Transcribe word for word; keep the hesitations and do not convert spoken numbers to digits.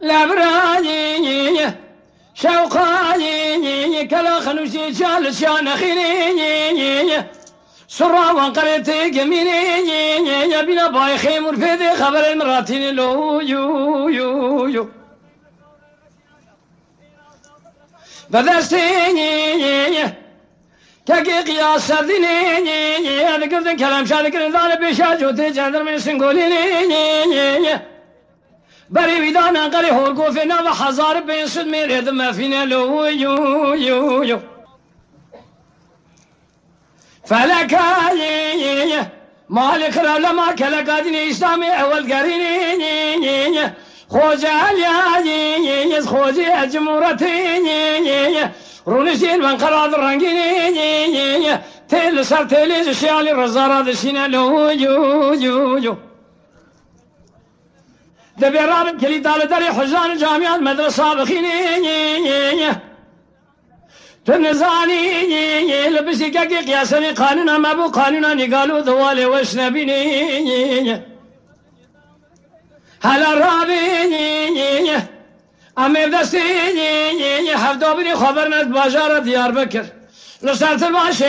Lebrayî, şewqayî, kela xenûşî çal çiya nexînî, sura wan qerê tê gemînî, bîna bayê xêmûr pê dê xeberên min ratînî lo, yu, yu, yu. Bi destê kekê qiya serdînê digirdin, kelemşa dikirin, dane pêşa cotê cendirmê singolînê. Berê wî dane qerê horgofê nava hezar û pênc sed mêrê di mefîne lo, yu, yu, yu. Felekayê malê xirab lema keleka dînê Îslamê ewel gerînê. Xoce Eliyayê, Xocê Cimûretê, rûniştên ben qera di rengînê. Tê li ser têlê ji şiyalî rizara dişîne lo, yu, yu, yu. Dibê rabin kilîta li derê hizan camiyan medresa bixînê. Tu nizanî li piştî kekê qiyasenê qanûna me bû, qanûna nîgalo di walê weş nebînê. Hela rabê em ê destê hevdabirê xwe berine bajara Diyarbekir. Li ser ti başê